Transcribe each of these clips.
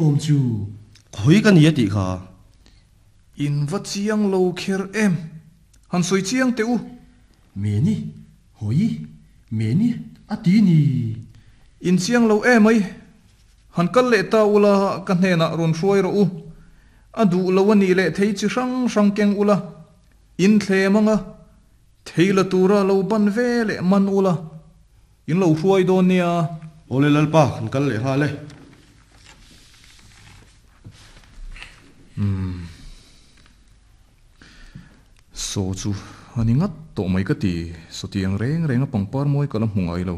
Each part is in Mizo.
awm chu? Khawi ka ni a tih kha. In va chiang lo kher em? Han sawi chiang teh u. Meni, hawi, meni a ti ni. In chiang lo emai. Han kal leh ta ula ka hnenah rawn hruai rawh u. A duh lo a nih leh thei chi hrang hrang keng ula, in thlem anga thei la tura lo ban ve leh man ula, in lo hruai dawn nia. Awle Lalpa, kan kal leh nghal e. Umm. Saw chu a ni ngat tawh mai ka ti, sawtiang reng reng a pangpar mawi ka la hmu ngai lo.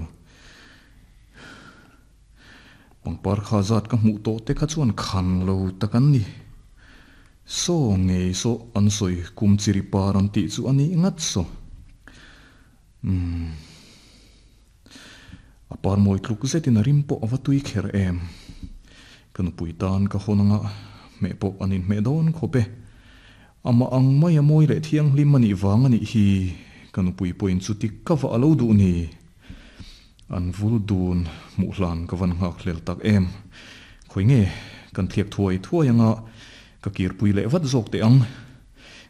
Pangpar kha zat ka hmuh tawh te kha chuan khan lo tak an ni. Saw ngei saw an sawi kum chiri par an tih chu a nih ngat saw. Umm. A par mawi tluk zetin a rim pawh a va tui kher em. Ka nupui tan ka hawn anga hmeh pawh an inhmeh dawn khawp e. Amah ang mai a mawi leh thianghlim a nih vang a nih hi ka nupui pawhin chuti ka vah a lo duh ni. An vul dun hmuh hlan ka van nghak hlel tak em. Khawi nge kan thliak thuai thuai anga ka kirpui leh vat zawk teh ang.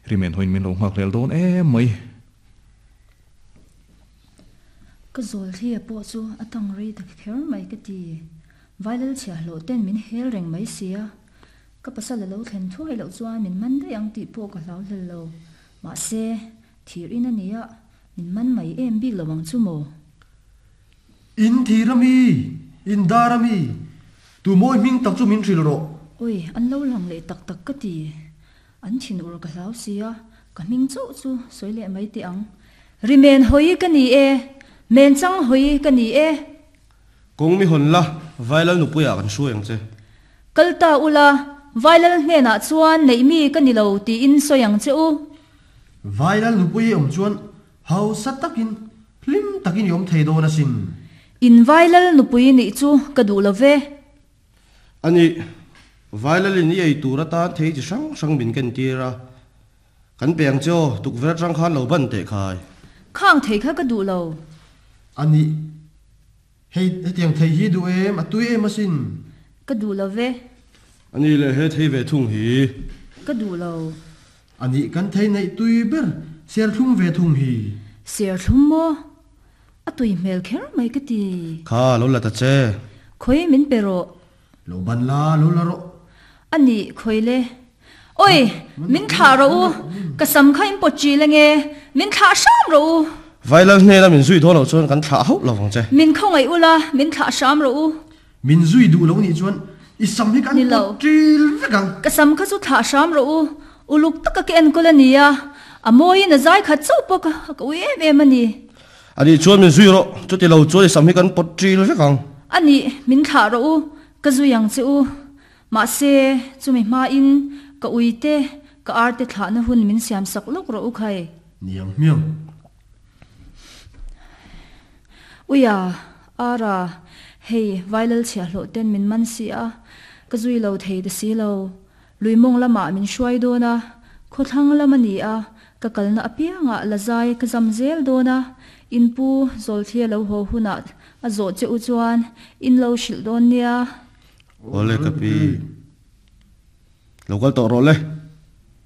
Rimen hawiin min lo nghak hlel dawn em mai. Ka zawl thlia pawh chu a tang rei ta kher mai ka ti. Vailal chhiahhlawh ten min hel reng mai sia. Ka pasal a lo thlen thuai loh chuan min man daih ang tih pawh ka hlau hlel lo. Mahse, thir in a nia, min man mai em bik lo ang chu maw? In thir a mi? In dar a mi? Tu mawi hming tak chu min hrilh rawh. Oi, an lo lang leh tak tak ka ti. An thin ur ka hlau sia, ka hming chauh chu sawi leh mai teh ang. Ri men hawi ka ni e, men chang hawi ka ni e. Kawng mi hawn la, Vailal nupuiah kan hruai ang che. Kal ta ula, Vailal hnenah chuan neih mi ka ni lo tiin sawi ang che u. Vailal nupui i awm chuan hausa takin, hlim takin i awm thei dawn asin. In Vailal nupui nih chu ka duh lo ve. A nih, Vailalin i ei tur atan thei chi hrang hrang min ken tir a, kan pe ang che aw, tukverh atang khan lo ban teh khai. Khang thei kha ka duh lo. A nih, hei hetiang thei hi duh em, a tui em asin. Ka duh lo ve. A nih leh he thei ve thung hi. Ka duh lo. A nih kan thei neih tui ber serthlum ve thung hi. Serthlum maw? A tui hmel kher mai ka ti. Kha, lo la ta che. Khawi min pe rawh. Lo ban la, lo la rawh. A nih, khawi le. Oi, min thlah rawh u. Ka sam kha in pawt ṭil ange. Min thlah hram rawh u. Vailal hnena min zui dawn loh chuan kan thlah hauh lo vang che. Min khawngaih ula, min thlah hram rawh u. Min zui duh lo nih chuan i sam hi kan pawt ṭil vek ang. Ka sam kha chu thlah hram rawh u. Uluk taka ka enkawl a nia, a mawiin a zai khat chauh pawh ka ka ui em em a ni. A nih chuan min zui rawh, chuti lo chuan i sam hi kan pawt ṭil vek ang. A nih, min thlah rawh u, ka zui ang che u. Mahse, chumi hmain ka ui te, ka ar te thlahna hun min siam sak lawk rawh u khai. Niang hmiang. Uia, Ara, hei Vailal chhiahhlawh ten min man si a, ka zui lo thei ta si lo. Lui mawng lamah min hruai dawn a, khawthlang lam a ni a, ka kalna apiangah la zai ka zam zel dawn a, in pu Zawlthlia lo haw hunah a zawh che u chuan in lo hrilh dawn nia. Awle ka pi, lo kal tawh rawh le.